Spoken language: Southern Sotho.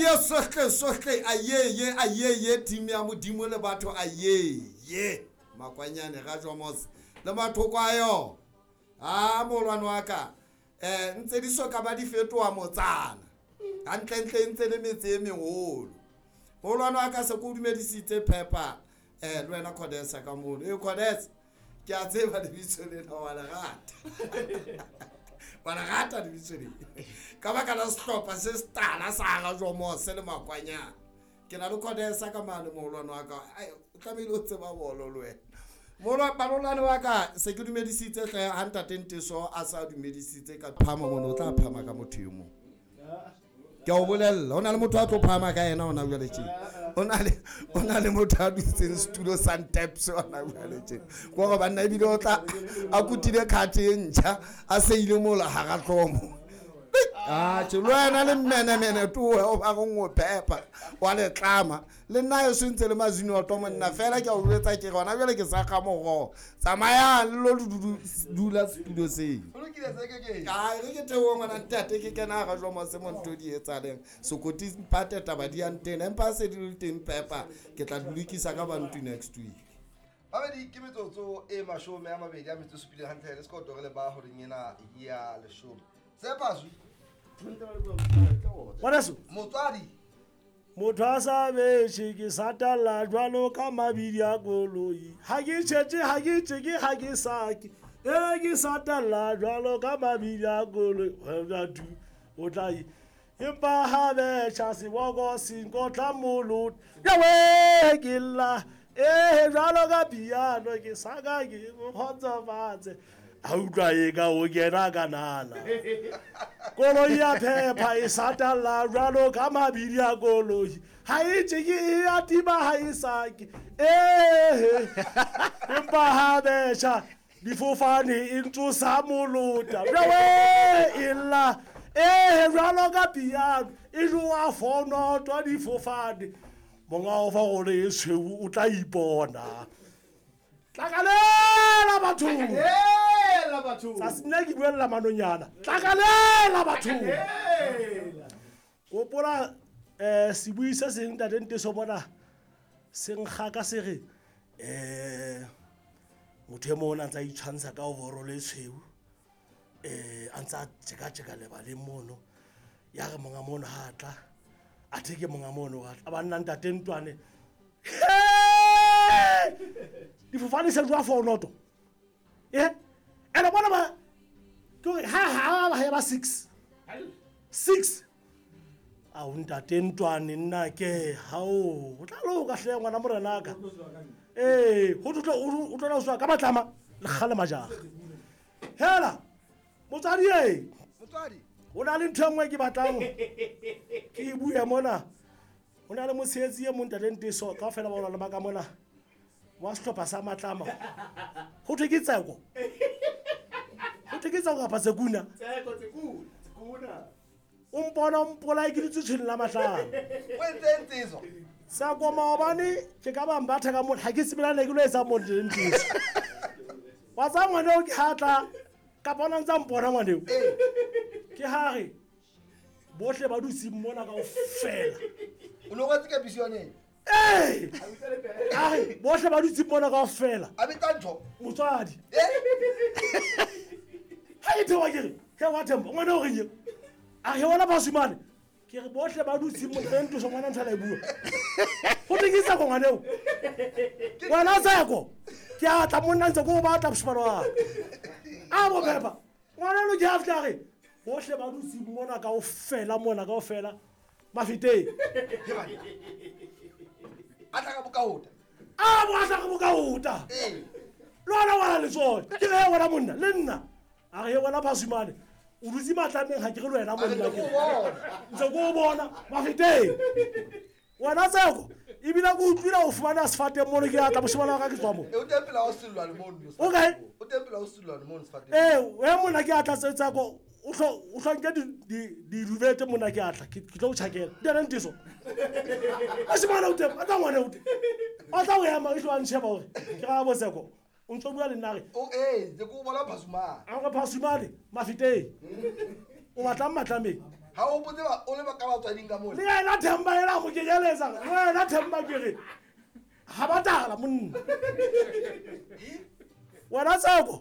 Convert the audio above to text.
Aye sohle sohle ayeye ayeye team ya Modimo le batho ayeye makwanyane ga Jomos le mathoko a yona. A molwane wa ka ntse di soka ba di fetoa motsana. Hantlentle ntse le metse e meholo. Molwane wa ka se ko dumedisitse Pepper le wena Codesa ka mono. E Codesa ke a tseba lebitso lena wa le rata. Wa le rata lebitso lena. Ka baka la sehlopha se setala sa ga Jomos le makwanyana. Ke na le Codesa ka mane moholwane wa ka. Ai o tlamehile o tseba bolo le wena. Molo balolane wa ka se ke dumedisitse hle ha ntate Nteso a sa dumedisitse ka phama mono o tla phama ka motho e mong. Ke a o bolella o na le motho a tlo phama ka yena ona jwale tje. O na le motho a dutseng setulo sa Nteps ona jwale tje. Gore banna ebile o tla a kutile card e ntjha a seile mola hara hlomo. Ah tje le wena le mmenemene towe o ba go phepa wa le tlama le nna e sentse le mazino a tomo nna fela ke a o jwetsa ke gona jwale ke sa ga mogo tsamaya le lo dula setulo seo. Ai re ke theoha ngwana ntate ke kena ga jwa mose mo ntho di etsaleng sokoti mpate taba di yang teng empa se di le teng Pepper ke tla lokisa ka bantu next week. Babedi ke metsotso e 27 hantle le sekoto re le ba horeng ena ya 10. Sepaswi. Ngwaneso. Motswadi. Motho a sa betjhe ke satalla jwalo ka mabidi a koloi. Ha ke tjhetje, ha ke tjeke, ha ke sake. E ke satalla jwalo ka mabidi a koloi. Wa du o tla e. Empa ha betjha seboko se nkotla molota. Yawe ke lla. E jwalo ka piano ke saka ke kgotsofatse. A utlwa e ka o kena ka nala. Koloi ya phepha e satalla jwalo ka mabidi a koloi. Ha e tjeke e a tima ha e sake. Empa ha betjha difofane e ntsosa molota. Jwawe e lla. Jwalo ka piano e jowa fonotwa difofane. Monga o fa gore e tshweu o tla ipona. Tlakalela batho. Hela batho. Sa sena ke buella manonyana. Tlakalela batho. Gopola sebui se seng ntate Nteso mona se nkga ka se re motho e mong a ntse a itshwantsha ka overall e tshweu a ntse a tjeka-tjeka lebaleng mono. Ya re monga mono ha tla a theke monga mono a tla ba nna ntate Ntwane. Difofane se jwa fonoto. Ene bona ba ke hore ha ba ba 6. 6. A o ntate Ntwane nna ke hao o tla loka hle ngwana morena ka. Ho tlo o tlo la ka matlama le kgale majaga. Hela motswadi e. Motswadi. O na le ntho e nngwe ke batlang ke e bue mona. O na le mosebetsi e mong ntate Nteso kaofela ba ona le ba ka mona wa sehlopha sa matlama. Ho thwe ke Tseko. Ho thwe ke Tseko kapa Tsekuna? Tseko, Tsekuna. O mpona o mpolaye ke dutse tshwene la matlama. O entse Nteso? Tseko maobane ke ka ba mbatha ka mona ha ke tsebe le ke lo etsa mo Nteso. Wa tsa ngwana o ke hatla kapa ona ntsa mpona ngwana eo. Ke ha re bohle ba dutse mona kaofela. O no rwetse ka bisione? A re bohle ba dutse mona kaofela. A betsa ntho. Motswadi. Ha ke thewa ke re, he wa themba ngwana o reng? A re wona basimane. Ke re bohle ba dutse mona Nteso ngwana ntho la e bua. Ho tekisa go ngwana eo. Ngwana Tseko. Ke a tla monna ntse go batla boshimane wa. A bo Pepper. Ngwana lo ke a fihla re bohle ba dutse mona kaofela mona kaofela. Mafiteng. A tla ka bokaota. A bo tla ka bokaota. Le wena wa le tsone. Ke re wena monna le nna. A re wena basimane. O dutse matlameng ha ke re le wena monna ke. Ntse go bona mafiteng. Wena Tseko ebile go utlwile o fumana sefateng mono ke a tla boshimane wa ka ke tswa mo. O teng pela o sellwane mono. Okay. O teng pela o sellwane mono sefateng. We monna ke a tla Tseko o hlo nke di rubete monna ke a tla ke tlo o tjhakela. Di Nteso. A shimane o teng, a tla ngwana o teng. O tla o ema e tlo a ntsheba hore ke ga bo Tseko. O ntso bua le nna re. O ke o bona Phasumane. A re Phasumane mafiteng. O batlang matlameng. Ha o hopotse o le ka batswading ka mole. Le yena Themba ela mo kenyeletsa, le wena Themba ke re ga ba tala monna wena Tseko.